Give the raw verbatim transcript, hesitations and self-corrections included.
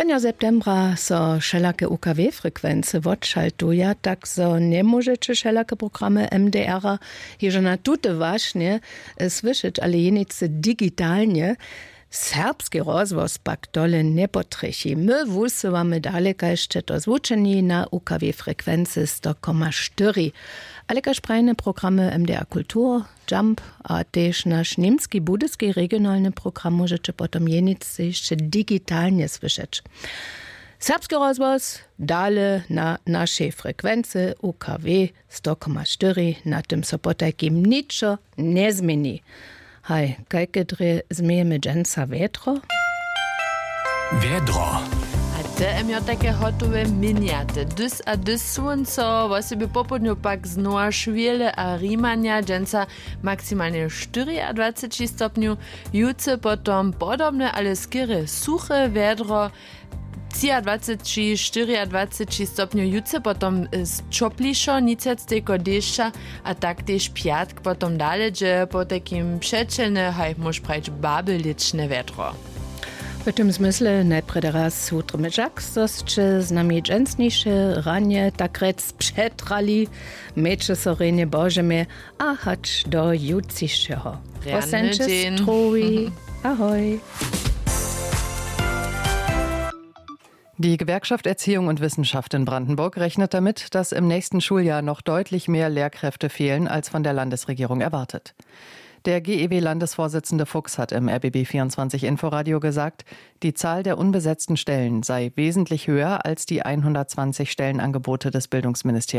Enja septembra so wšelake U K W frekwency wotšaltuja, tak zo njemóžeće wšelake programy M D R-a hižo na tute wašnje słyšeć, ale jenicy digitalnje. Serbski rozhłos pak tole njepotrjechi. My wusyłamy dale kaž će to zwučeni na U K W frekwency sto koma štyri. Ale kaž prajne programy M D R Kultur, Jump a tež naš němski budyski regionalny program móžeće potom jenicy hišće digitalnje słyšeć. Serbski rozhłos dale na našej frekwency U K W sto koma štyri, na tym so potajkim ničo njezměni. Haj, kajke drje změjemy dźensa wjetro? Wjedro. A te emjotake hotowe minjate dys a dys słónco, wosebje popołdnju pak znowa šwěle a rimanja, dźensa maksimalnje štyriadwaceći stopnju, jutře potom podobne ale skerje suche wjedro, třiadwaceći štyriadwaceći stopnjow jutře potom, e, čoplišo, nic wjac tejko dešća, a tak tež pjatk potom dale dźe potajkim přećelne, haj móž prajić babelěčne wjedro. W tym zmysle najprjedy raz wutrmy žak, zo sće z nami dźensniše ranje tak rjec přetrali. Mějće so rjenje božemje a hač do jutřišeho. Rjany dźeń. Strowi. Ahoj. Die Gewerkschaft Erziehung und Wissenschaft in Brandenburg rechnet damit, dass im nächsten Schuljahr noch deutlich mehr Lehrkräfte fehlen als von der Landesregierung erwartet. Der G E W-Landesvorsitzende Fuchs hat im R B B vierundzwanzig Inforadio gesagt, die Zahl der unbesetzten Stellen sei wesentlich höher als die hundertzwanzig Stellenangebote des Bildungsministeriums.